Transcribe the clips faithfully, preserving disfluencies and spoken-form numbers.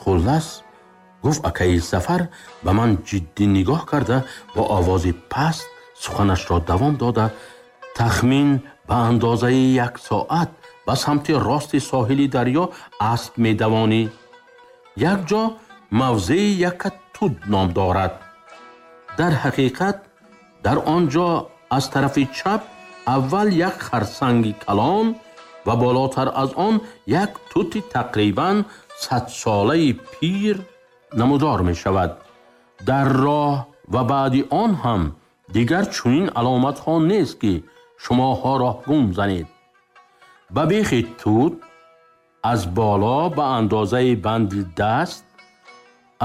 Хуллас, гуфт акаи Сафар ба ман ҷиддӣ нигоҳ карда, бо овози паст суханашро давом дода, тахмин ба андозаи як соат ба самти рости соҳили дарё асп медавонӣ. Як ҷо мавзеи Якка Тут ном дорад. Дар ҳақиқат дар он ҷо аз тарафи чап аввал як харсанги калон ва болотар аз он як тути тақрибан садсолаи пир намудор мешавад. Дар роҳ ва баъди он ҳам дигар чунин аломатҳо нест, ки шумоҳо роҳ гум занед. Ба бехи тут аз боло ба андозаи банди даст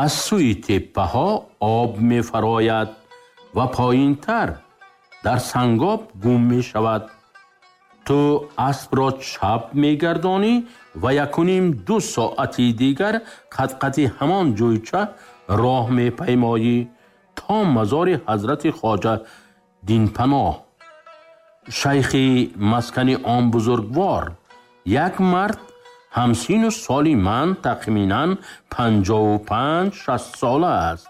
аз сӯи теппаҳо об мефарояд ва поинтар дар сангоб гум мешавад. Ту аспро чап мегардонӣ ва якуним ду соати дигар қадқади ҳамон ҷӯйча роҳ мепаймоӣ то мазори ҳазрати Хоҷа Динпаноҳ. Шайхи маскани он бузургвор як мард ҳамсину соли ман, тахминан панҷоҳу панҷ шаст сола аст.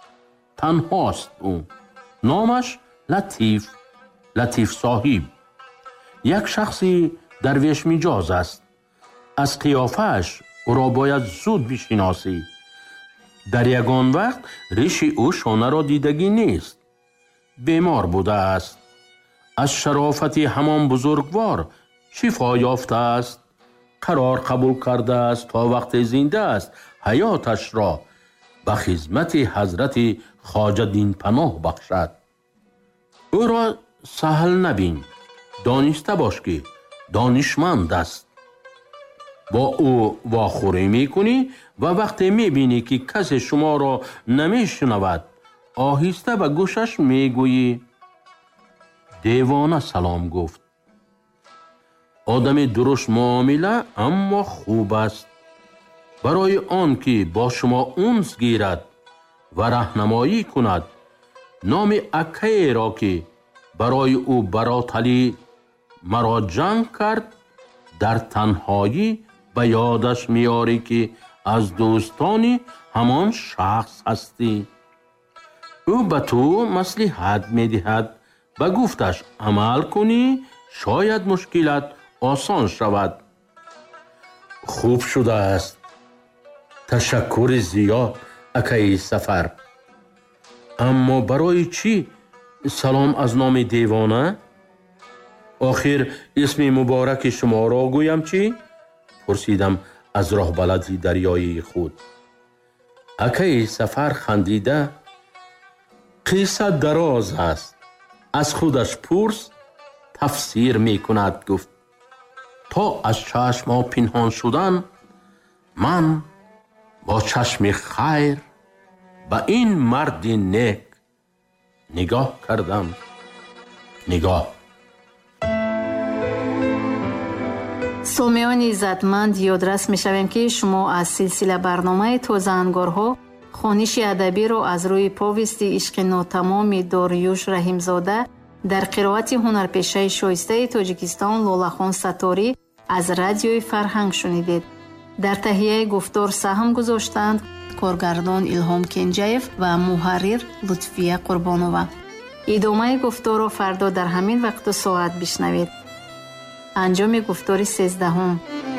Танҳост ӯ. Номаш Латиф, Латиф соҳиб. Як шахси дарвешмиҷоз аст. Аз қиёфааш ӯро бояд зуд бишиносӣ. Дар ягон вақт риши ӯ шонаро дидагӣ нест. Бемор будааст. Аз шарофати ҳамон бузургвор шифо ёфтааст. Қарор қабул кардааст то вақте зинда аст ҳаёташро ба хизмати ҳазрати Хоҷа Динпаноҳ бахшад. Ӯро саҳл набин, дониста бош, ки донишманд аст. Бо ӯ вохӯрӣ мекунӣ ва вақте мебинӣ, ки касе шуморо намешунавад, оҳиста ба гӯшаш мегӯӣ: «Девона салом гуфт». Одами дуруст муомила, аммо хуб аст. Барои он ки бо шумо унс гирад ва раҳнамоӣ кунад, номи акаеро, ки барои ӯ бароталӣ маро ҷанг кард, дар танҳоӣ ба ёдаш меорӣ, ки аз дӯстони ҳамон шахс ҳастӣ. Ӯ ба ту маслиҳат медиҳад. Ба гуфташ амал кунӣ, шояд мушкилат осон шавад. Хуб шудааст. Ташаккури зиёд, акаи Сафар. Аммо барои чӣ салом аз номи девона? Охир исми мубораки шуморо гӯям чӣ? Пурсидам аз роҳбалади дарёии худ. Акаи Сафар хандида: «Қисса дароз аст, аз худаш пурс, тафсир мекунад», гуфт. То аз чашмҳо пинҳон шудан, ман бо чашми хайр ба ин марди нек нигоҳ кардам. Нигоҳ. Сомиёни иззатманд, ёдрас мешавем, ки шумо аз силсила барномаи «Тозаангорҳо» хониши адабиро аз рӯи повести «Ишқи нотамоми» Дориюш Раҳимзода дар қироати ҳунарпешаи шоистаи Тоҷикистон Лолахон Сатторӣ аз Радиои Фарҳанг шунидед. Дар таҳияи гуфтор саҳм гузоштанд коргардон Илҳом Кенҷаев ва муҳаррир Лутфия Қурбонова. Идомаи гуфторро фардо дар ҳамин вақту соат бишнавед. Анҷоми гуфтори сездаҳум.